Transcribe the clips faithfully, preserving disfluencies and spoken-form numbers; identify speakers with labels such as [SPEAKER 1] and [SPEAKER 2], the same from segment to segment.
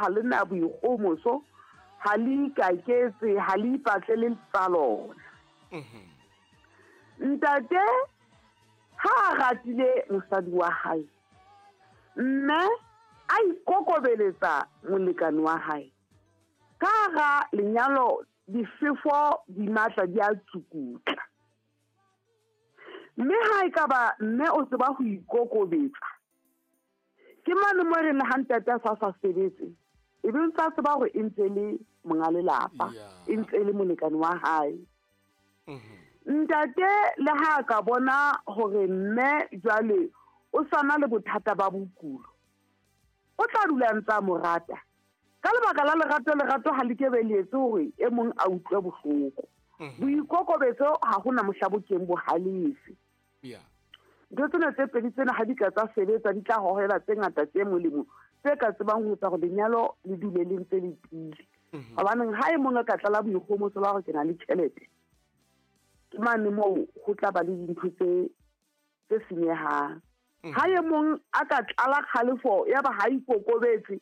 [SPEAKER 1] ha le na boikgomoso, ha le ikaketse, ha le ipatlele tsa lona. Ntate ha a ratile mosadi wa hae, mme a ikokobeletsa molekane wa hae, ka hara lenyalo difefo di matla di a tsukutla. Mme ha e ka ba mme o tseba ho ikokobetsa, ke mane mo re le ha ntate a sa sa sebetse, e be ntse a tseba hore e ntse le monga lelapa, e ntse le molekane wa hae. Ntate le ha ka bona hore mme jwale o sana le bothata ba bokulo, o tla dula ntse a mo rata. Ka lebaka la lerato, lerato ha le ke be le etse hore e mong a utlwe bohloko. Boikokobetso ha hona mohla bo keng bo halefe. Ntho tsena tse pedi tsena ha di ka tsa sebetsa, di tla hohela tse ngata tse molemo tse ka tsebang ho etsa hore lenyalo le dule le ntse le tiile. Hobaneng ha e mong a ka tlala boikgomoso ba hore ke na le tjhelete, ke mane moo ho tla ba le dintho tse tse senyehang. Ha e mong a ka tlala kgalefo ya ba ha ikokobetse,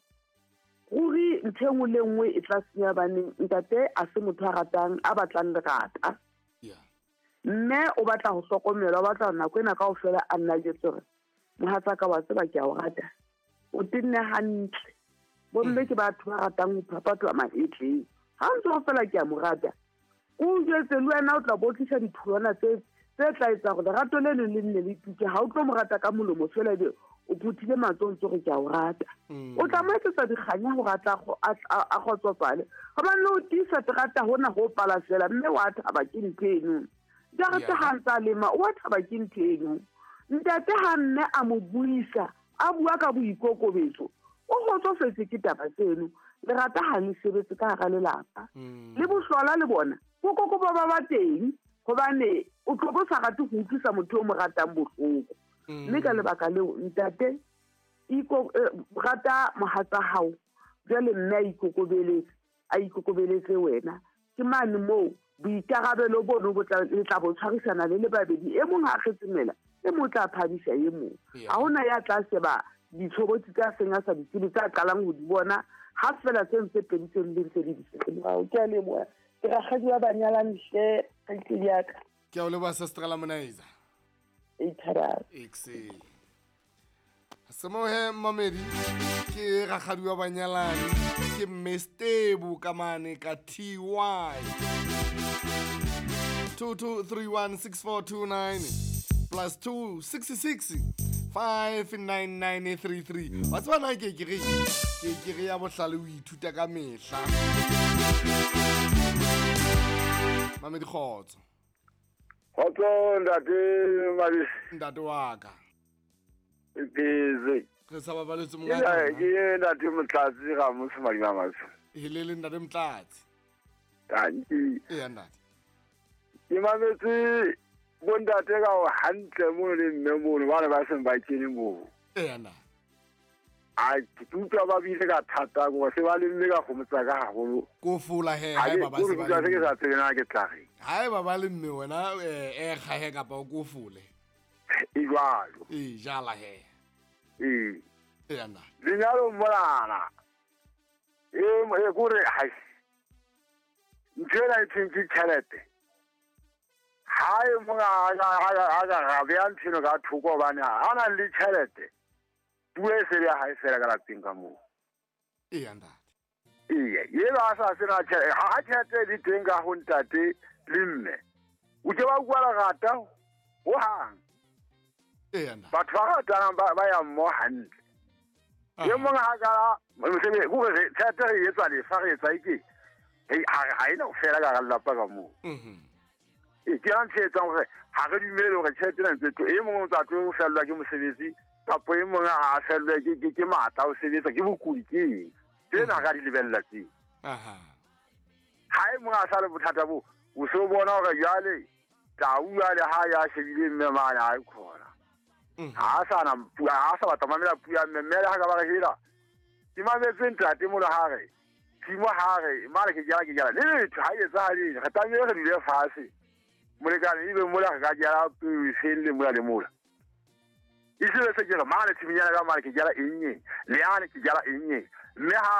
[SPEAKER 1] ruri ntho e nngwe le nngwe e tla senya. Baneng ntate a se motho a ratang, a batlang lerata. Mme o batla ho hlokomelwa, o batla nako ena kaofela a nna jwetse hore mohatsaka wa tseba ke a o rata, o tenne hantle. Bomme ke batho ba ratang ho phaphathwa mahetleng. Ha ntse o fela ke a mo rata, o jwetse le wena o tla bo tlisa ditholwana tse tse tla etsa hore lerato le leng le nne le tuke. Ha o tlo mo rata ka molomo fela ebe o phuthile matsoho ntse hore ke a o rata. O tla mo etsetsa dikganya hore a tla a kgotsofale. Hobane o tiisa terata hona ho pala fela, mme wa thaba ke ntho eno. Jarete ha ntsa lema, o wa thaba ke ntho eno. Ntate ha mme a mo buisa, a bua ka boikokobetso, o kgotsofetse ke taba tseno. Lerata ha le sebetse ka hara lelapa. Le bohlola le bona bokoko ba ba teng, hobane o tlo bo sa rate ho utlwisa motho o mo ratang bohloko. Mme ka lebaka leo ntate iko rata mohatsa hao, jwale mme a ikokobeletse, a ikokobeletse wena. Ke mane moo boikarabelo bono bo tla le tla bo tshwarisana le le babedi. E mong ha a kgetsemela, e mong tla phadisa e mong. Ha hona ya tla sheba ditshobotsi tsa seng a sa di tsebe, tsa qalang ho di bona ha fela tse ntse pedi tse di ntse di di. Ke a leboha. Ke rakgadi wa banyalani hle, kgaitsedi ya ka.
[SPEAKER 2] Ke a o leboha Sister Lamonaiza. Exe. Semohe Mamedi ke rakgadi wa banyalani, ke Mestebu ka mane ka T Y. two two three one six four two nine plus two six six five nine nine three three. Wa tseba na ke ke re ke ke re ya bohlale o ithuta ka mehla. Mamedi kgotso.
[SPEAKER 3] Kgotso ntate Mabisi.
[SPEAKER 2] Ntate wa ka.
[SPEAKER 3] Busy.
[SPEAKER 2] Re sa babaletse monga.
[SPEAKER 3] Ke ntate Motlatsi ga motse Madima Matsho.
[SPEAKER 2] Helele ntate Motlatsi.
[SPEAKER 3] Tanki.
[SPEAKER 2] E ntate.
[SPEAKER 3] Ke mametse bontate ka o hantle mo le mme mono ba ne ba seng ba kene moo.
[SPEAKER 2] E ntate.
[SPEAKER 3] A ke utlwa ba bile ka thata go se ba le mme ka gomotsa ka haholo.
[SPEAKER 2] Ko fola he ha ba ba se ba.
[SPEAKER 3] Ke sa tsebe na ke tla re.
[SPEAKER 2] Ha ba ba le mme wena eh kga he kapa o ko fole.
[SPEAKER 3] E jwalo.
[SPEAKER 2] E jala he.
[SPEAKER 3] E.
[SPEAKER 2] E nna.
[SPEAKER 3] Lenyalo molana. E e gore ha. Ntshela e tshentse tjhelete. Ha e monga ha ha ga be a ntsheno ka thoko bana ha na le tjhelete. Puo e se ya hae fela ka lapeng ka moo.
[SPEAKER 2] E ntate.
[SPEAKER 3] Ee, ye ba sa sena tjhelete, ha tjhelete di teng ka ho ntate le mme. O ke ba bua lerata ho hang.
[SPEAKER 2] E ntate.
[SPEAKER 3] Batho ba ratanang ba ba ya mmoho hantle. E mong ha ka mosebe go re tjhelete re etsa lefa re etsa ike. Ha ha ena ho fela ka lelapa ka moo.
[SPEAKER 2] Mhm.
[SPEAKER 3] E ke a ntshetsang hore ha re dumele hore tjhelete ena ntse e mong o tla tlo fellwa ke mosebetsi kapo e mong a fellwe ke ke ke matla o sebetsa ke bokudi ke eng tsena ka di lebella tse.
[SPEAKER 2] Aha.
[SPEAKER 3] Ha e mong a sa le bothata bo o so bona hore jwale tau jwale ha ya shebile mme mane ha e khona. Ha sa na ha sa batla mamela puo ya mme mme ha ka ba re hela ke mametse ntate mo le ha re tshimo ha re mare ke jala ke jala le letho ha etsahale re tlamehile re dule fatshe molekane ebe mola re ka jala peo e felle mola le mola. E se se ke re mane tshiminyana ka mane ke jala eng eng le yane ke jala eng eng mme ha